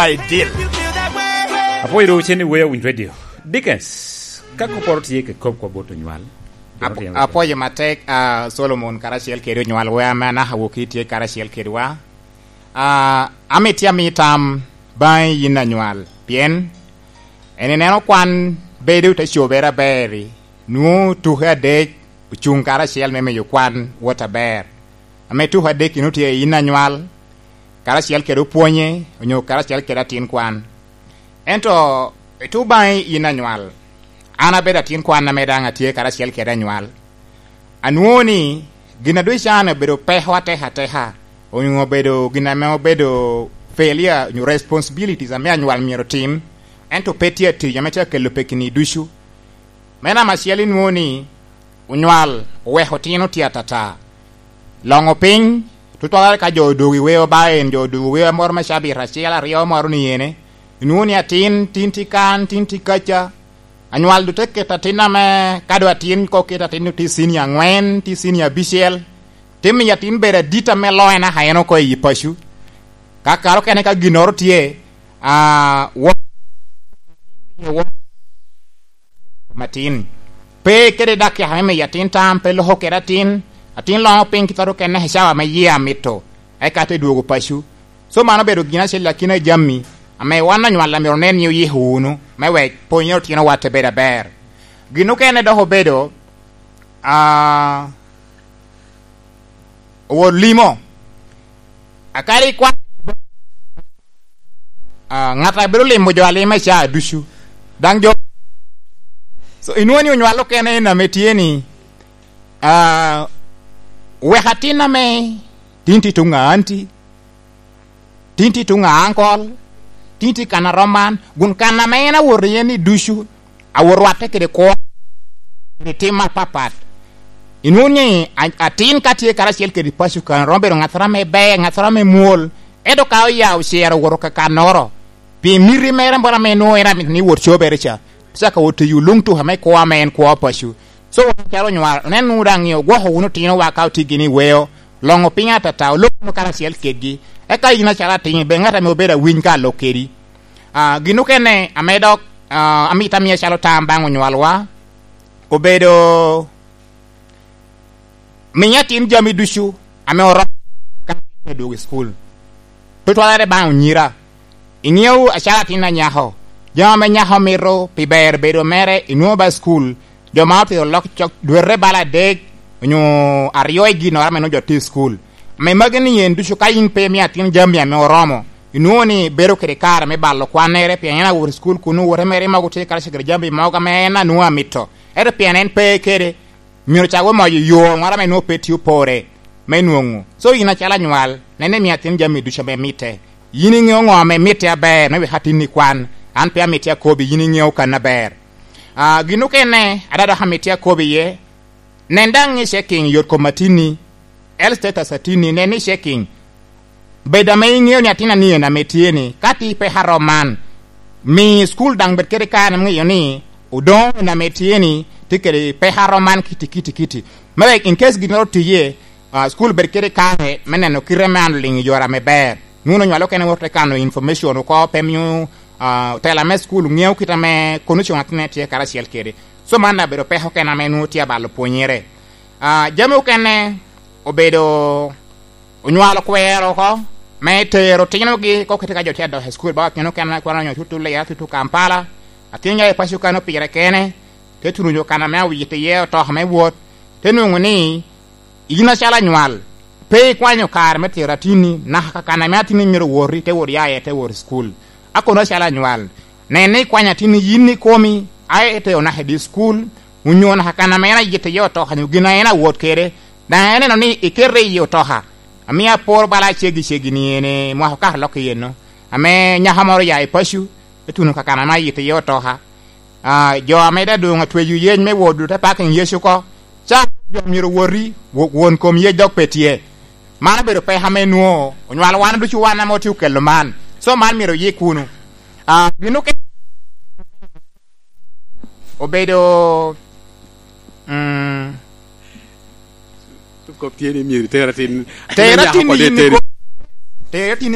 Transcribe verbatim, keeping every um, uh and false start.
Ideal. Apwoyo ru cen i Weya Winy Radio. Dickens, ka kopporo tye ke kop kwa bot onywal. Apo-, apwoyo matek, ah, Solomon karacel kede onywal wea ame anaka woki tye karacel kedwa. Ah, amito ami tam baŋi yin anywal, pien en ineno kwan bedo te cobere aber-ri, nwoŋo tuke adek ocuŋ karacel me miyo kwan wot aber. Ame tuko adek-ki nwoŋo tye i yin anywal, karacel kede opwonye, onyo karacel kede atin kwan. Ento i tuŋ baŋi yin anywal, an abedo atin kwan ame daŋ atye karacel kede anywal. Anwoŋo ni gin a ducan obedo peko ateka ateka, onyo obedo gin ame obedo failure, onyo responsibilities ame anywal myero otim, ento pe tye atic ame tye akelo pekini ducu. Me namba acel, inwoŋo ni onywal oweko otino tye atata. Loŋo piny, tutwalere ka jo odogo i weo ba en, jo odogo weo moro me cabit acel, aryo moro ni ene, inwoŋo ni atin, tin tye kan, tin tye kaca. Anywal doŋ te keto atin ame, ka doŋ atin ko keto atin tye cinia aŋwen, tye cinia abicel, te miyo atin bedo adit ame loŋe naka en oko i paco. Ka kare okene ka ginnoro tye, ah, wo-, wo-, matin. Pe kede dakika me miyo atin tam, pe loko kede atin. Atin loŋo piny kite okene i cawa ame yie amito, eka te dwogo paco. So, mano obedo gin acel akina i jami ame wan anywal myero onen ni oyiko wunu, me wek pwonyere otinowa te bedo aber. Gin okene dok obedo, ah, owot limo. Akadi kwan, ah, ŋat a bedo limo jo alima i caa ducu. Daŋ jo, so, inwoŋo ni onywal okene en ame tye ni, ah, wek atin ame tin tye tuŋ a anti, tin tye tuŋ a ankol, tin tye kan a rom man, kun kan ame en awoto iye ni ducu, awoto rwatte kede kwo, kede tim apapat. Inwoŋo ni a-, atin ka tye karacel kede paco kan, romo bedo ŋattoro ame ber, ŋattoro ame mwol, ento ka oya ocero owoto ka kannoro, pi miti mere moro ame nwoŋo en amito ni wot cobere ca, cako wot tiyo luŋ tuka me kwo ame en kwo paco. So, wan calo onywal, onen wunu daŋ ni ogwoko wunu otinowa ka otye gini i weo, loŋo piny atata, olok wunu karacel kedgi. Eka yin acalo atin, bed ŋat ame obedo awiny ka alok kedi. Ah, gin okene ame dok, ah, amito amiya calo tam baŋ onywalwa, obedo miyo atin jami ducu ame oromo ka atin te dwogo i cukul. Tutwalere baŋ onyira. Iŋeo acalo atin anyako, jami ame nyako mito pi ber bedo mere, inwoŋo ba i cukul, jo ma otito lok cok dwete bala adek onyo aryo i ginnoro ame nwoŋo jo tye i cukul. Ame magi ni en ducu ka in pe imio atin jami ame oromo, inwoŋo ni bedo kede kare me balo kwannere, pien en awot i cukul kun owote mere mogo tye karacel kede jami mogo ame en anwoŋo amito. Ento pien en pe kede, myero cak omoyo yo ŋoro ame nwoŋo pe tye opore me nwoŋo. So, yin acalo anywal, nen ni imio atin jami ducu ame mitte. Yin iŋeo ŋo ame mitte aber me wek atinni kwan, an pe amitti akobi, yin iŋeo kan aber. Ah, gin okene, ada dok amitti akobi iye, nen daŋ i checking yot kom atinni, health status atinni, nen i checking. Bed ame iŋeo ni atin anien ame tye ni, ka tye i peko arom man, mi cukul daŋ bed kede kare ame ŋeyo ni odoŋo en ame tye ni tye kede peko arom man kiti, kiti, kiti. Me wek in case ginnoro tye iye, ah, cukul bed kede kare me neno kite me an oliŋ i yore ame ber. Nwoŋo onywalo kene wot te kano information oko, pe mio, ah, tela me cukul ŋeo kit ame kono coŋ atinne tye karacel kede. So man daŋ obedo peko kene ame nwoŋo tye abalo pwonyere. Ah, jami okene obedo onywalo kwero oko me tero otinogi, kok kite ka jo tye adok i cukul, ba otino kene kwero nyo tutu Lira, tutu Kampala, atin ya i paco kan opire kene, te tuno nyo kan ame awito iye otoka me wot, te nwoŋo ni in acalo anywal, pe ikwanyo kare me tero atinni, naka ka kan ame atinni myero owoti, te wot ya iye, te wot i cukul. A kono acalo anywal, nen ni ikwanyo atinni yin ikomi, a ite onaka i dye cukul, onyo naka kan ame en ayito iye otoka, nyo gin a en awot kede, daŋ ineno ni ikete i otoka. Amio apor bala ceggi ceggi ni ene mwaka okato lok i eno, ame nyako moro oya i paco, etuno ka kan ame ayito iye otoka. Ah, jo ame daŋ doŋ atweyo yec me wot dute parking yec oko, ca jo myero owoti, wo-, won kom yec dok pe tye. Man obedo peko ame nwoŋo onywalo wan ducu wan ame otye okelo man. So man myero oyik wunu. Ah, gin okene obedo, mm, kop tye ni myero iter atin. Ter atin ni yin iter. Iko-, ter atin